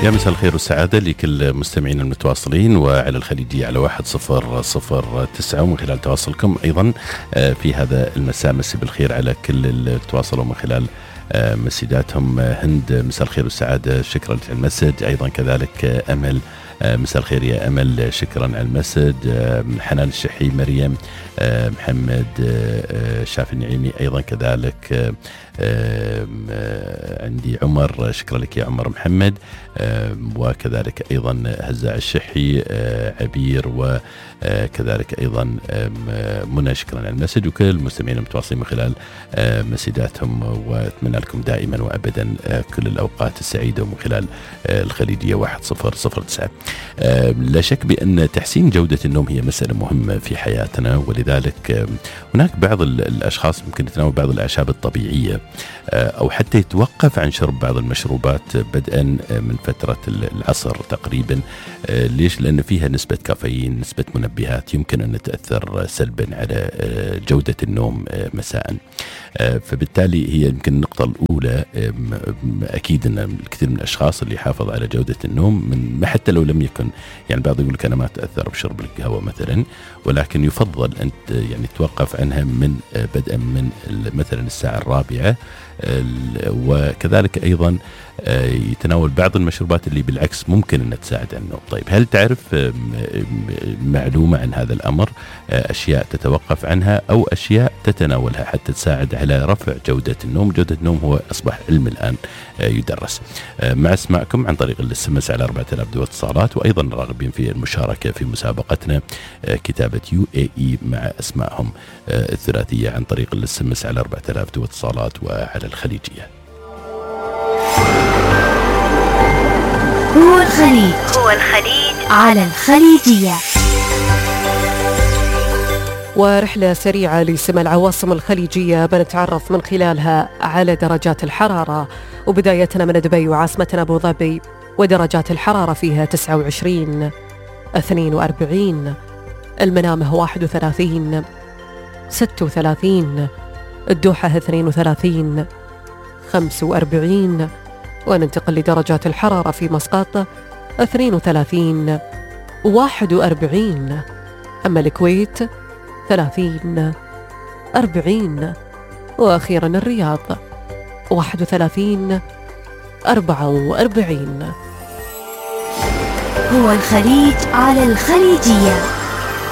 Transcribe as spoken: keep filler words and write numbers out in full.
يا مساء الخير والسعادة لكل مستمعين المتواصلين وعلى الخليجية على واحد صفر صفر تسعة، ومن خلال تواصلكم أيضا في هذا المساء. مسي بالخير على كل اللي تواصلوا من خلال مسجاتهم. هند مساء الخير والسعادة، شكرا على المسج. أيضا كذلك أمل مساء الخير يا أمل، شكرا على المسج. حنان الشحي، مريم، محمد شافي النعيمي أيضا كذلك. عندي عمر، شكرا لك يا عمر محمد، وكذلك أيضا هزاع الشحي، عبير، وكذلك أيضا منى، شكرا على المسج. وكل المستمعين المتواصلين من خلال مسجاتهم، وأتمنى لكم دائما وأبدا كل الأوقات السعيدة ومن خلال الخليجية واحد صفر صفر تسعة. لا شك بأن تحسين جودة النوم هي مسألة مهمة في حياتنا، ولذلك هناك بعض الأشخاص ممكن يتناول بعض الأعشاب الطبيعية أو حتى يتوقف عن شرب بعض المشروبات بدءا من فترة العصر تقريبا. ليش؟ لأن فيها نسبة كافيين، نسبة منبهات يمكن أن تأثر سلبا على جودة النوم مساء. فبالتالي هي يمكن النقطة الأولى. أكيد أن الكثير من الأشخاص اللي يحافظ على جودة النوم من حتى لو لم يكن، يعني بعض يقول لك أنا ما أتأثر بشرب القهوة مثلا، ولكن يفضل أن يعني توقف عنها من بدءا من مثلا الساعة الرابعة. وكذلك أيضا يتناول بعض المشروبات اللي بالعكس ممكن أن تساعد على النوم. طيب، هل تعرف معلومة عن هذا الأمر؟ أشياء تتوقف عنها أو أشياء تتناولها حتى تساعد على رفع جودة النوم. جودة النوم هو أصبح علم الآن يدرس. مع اسمعكم عن طريق الاس ام اس على أربعة آلاف دول اتصالات، وأيضا راغبين في المشاركة في مسابقتنا كتابة يو اي اي مع اسمائهم الثلاثية عن طريق الاس ام اس على أربعة آلاف دول اتصالات وعلى الخليجية. هو الخليج هو الخليج على الخليجية. ورحلة سريعة لسمع العواصم الخليجية بنتعرف من خلالها على درجات الحرارة، وبدايتنا من دبي وعاصمتنا أبو ظبي، ودرجات الحرارة فيها تسعة وعشرين، اثنين وأربعين، المنامة واحد وثلاثين، ستة وثلاثين، الدوحة اثنين وثلاثين، خمسة وأربعين، وننتقل لدرجات الحرارة في مسقط اثنين وثلاثين، واحد وأربعين، أما الكويت ثلاثين، أربعين، وأخيرا الرياض واحد وثلاثين، أربعة وأربعين. هو الخليج على الخليجية.